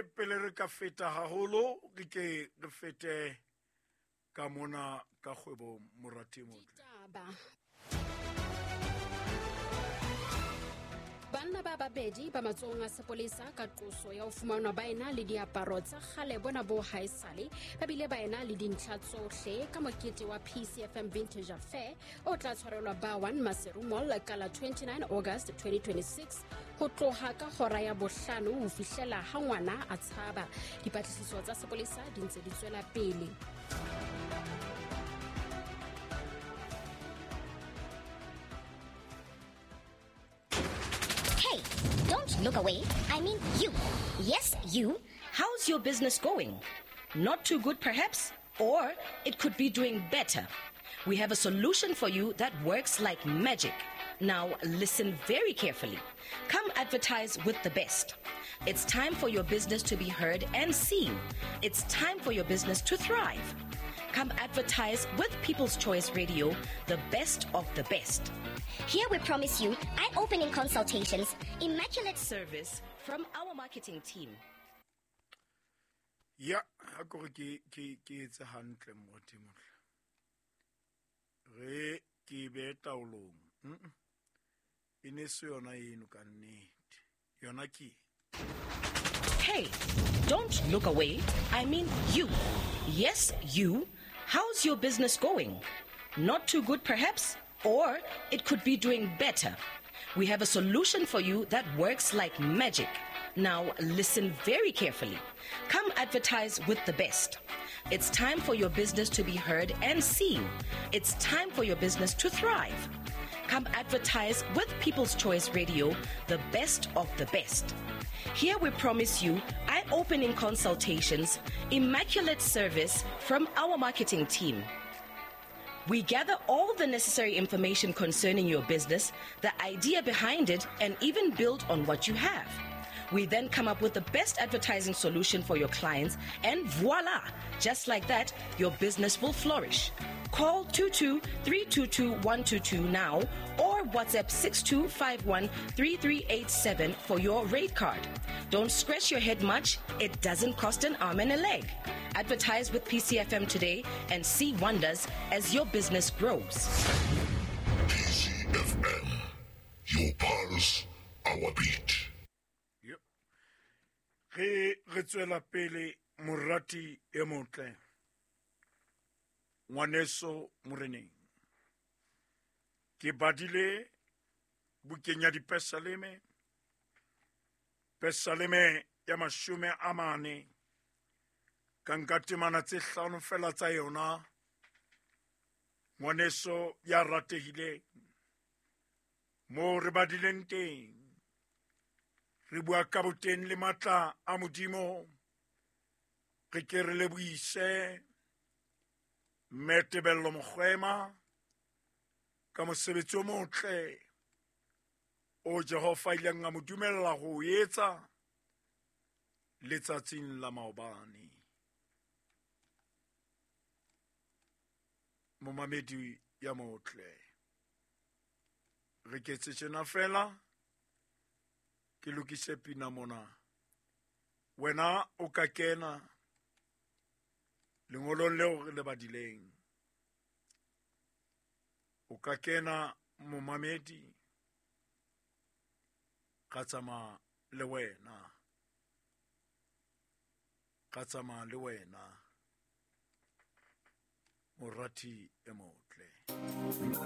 Jwale pele re ka feta haholo, re ke re fete ka mona ka kgwebo, morati motle. Ditaba. Banna ba babedi ba matsohong a sepolesa ka qoso ya ho fumanwa ba ena le diaparo tsa kgale bona bo haesale, ba bile ba ena le dintlha tsohle ka mokete wa PCFM Vintage Affair o tla tshwarelwa ba 1 Maseru Mall ka la 29 August 2026 ho tloha ka hora ya bohlano ho fihlela ha ngwana a tshaba. Dipatlisiso tsa sepolesa di ntse di tswela pele. Hey, don't look away. I mean you. Yes, you. How's your business going? Not too good, perhaps? Or it could be doing better. We have a solution for you that works like magic. Now, listen very carefully. Come advertise with the best. It's time for your business to be heard and seen. It's time for your business to thrive. Come advertise with People's Choice Radio, the best of the best. Here we promise you eye-opening consultations, immaculate service from our marketing team. Ya, ha ke re ke etse hantle, morati motle. Re ke be taolong. E ne se yona eno ka nnete. Yona ke. Hey, don't look away. I mean you. Yes, you. How's your business going? Not too good, perhaps? Or it could be doing better. We have a solution for you that works like magic. Now, listen very carefully. Come advertise with the best. It's time for your business to be heard and seen. It's time for your business to thrive. Come advertise with People's Choice Radio, the best of the best. Here we promise you eye-opening consultations, immaculate service from our marketing team. We gather all the necessary information concerning your business, the idea behind it, and even build on what you have. We then come up with the best advertising solution for your clients, and voila! Just like that, your business will flourish. Call 22-322-122 now or WhatsApp 6251-3387 for your rate card. Don't scratch your head much. It doesn't cost an arm and a leg. Advertise with PCFM today and see wonders as your business grows. PCFM, your pulse, our beat. Yep. Re re tswela pele, morati e motle. Ngwaneso moreneng. Ke badile bukeng ya Dipesaleme. Pesaleme ya 40. Ka nka temana tse hlano fela tsa yona. Ngwaneso ya ratehileng. Mo re badileng teng. Re bua ka boteng le matla a Modimo. Re ke re lebohise Mme Tebello Mogoema ka mosebetsi o motle o Jehova ileng a mo dumella ho o etsa letsatsing la maobane. Momamedi ya motle, re ketse tjena fela, ke lokise pina mona. Wena o ka kena lengolong leo re le badileng. O ka kena momamedi, ka tsamaya le wena. Ka tsamaya le wena. Morati e motle.